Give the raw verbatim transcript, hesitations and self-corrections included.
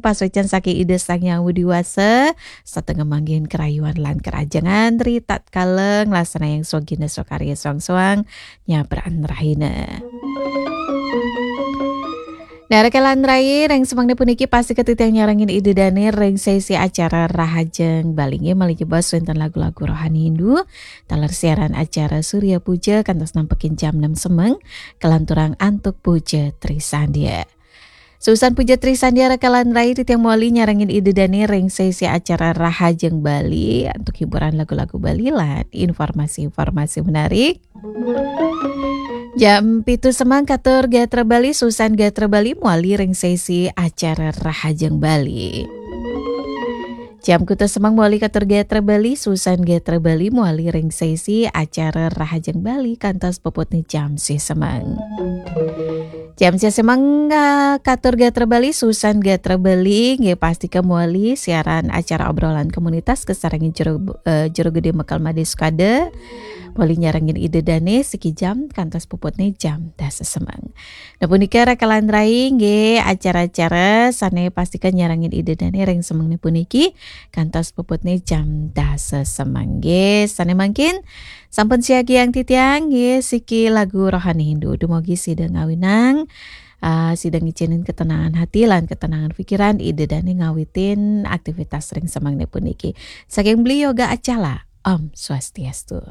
pasuecan saking Ida Sang Hyang Widi Wasa, satengah manggihin karayuan lan karahajengan ri tatkala nglaksanaang swagina swakarya soang-soang nyabraan rahina. Nah, raka lan rai, ring semengné puniki pastika titiang nyarengin Ida Dané ring sesi acara Rahajeng Bali nggih, malih jebos wénten lagu-lagu rohani Hindu, taler siaran acara Surya Puja kantos nampekin jam enam semeng, kalanturang antuk Puja Trisandya. Susan Puja Trisandya raka lan rai, titiang mawali nyarengin Ida Dané ring sesi acara Rahajeng Bali antuk hiburan lagu-lagu Bali lan informasi-informasi menarik. Jam pitu semeng katur gatra Bali, Susan Gatra Bali mawali ring sesi acara Rahajeng Bali. Jam kutus semeng mawali katur gatra Bali, Susan Gatra Bali mawali ring sesi acara Rahajeng Bali kantos puputné jam sih semeng. Jam sih semeng, ah, katur gatra Bali, Susan Gatra Bali nggih pastika mawali siaran acara obrolan komunitas kasarengin Jero, eh, Jero Gedé Mekar Madé Sukada. Mawali nyarengin Ida Dané siki jam kantos puputné jam dasa semeng. Nah, punika raka lan rai nggih acara-acara sané pastika nyarengin Ida Dané ring semengné puniki kantos puputné jam dasa semeng nggih. Sané mangkin sampun siagiang titiang nggih siki lagu rohani Hindu. Dumugi sida ngawinang, ah, sida ngicénin ketenangan hati lan ketenangan pikiran Ida Dané ngawitin aktivitas ring semengné puniki. Saking Beli Yoga Acala, Om Swastiastu.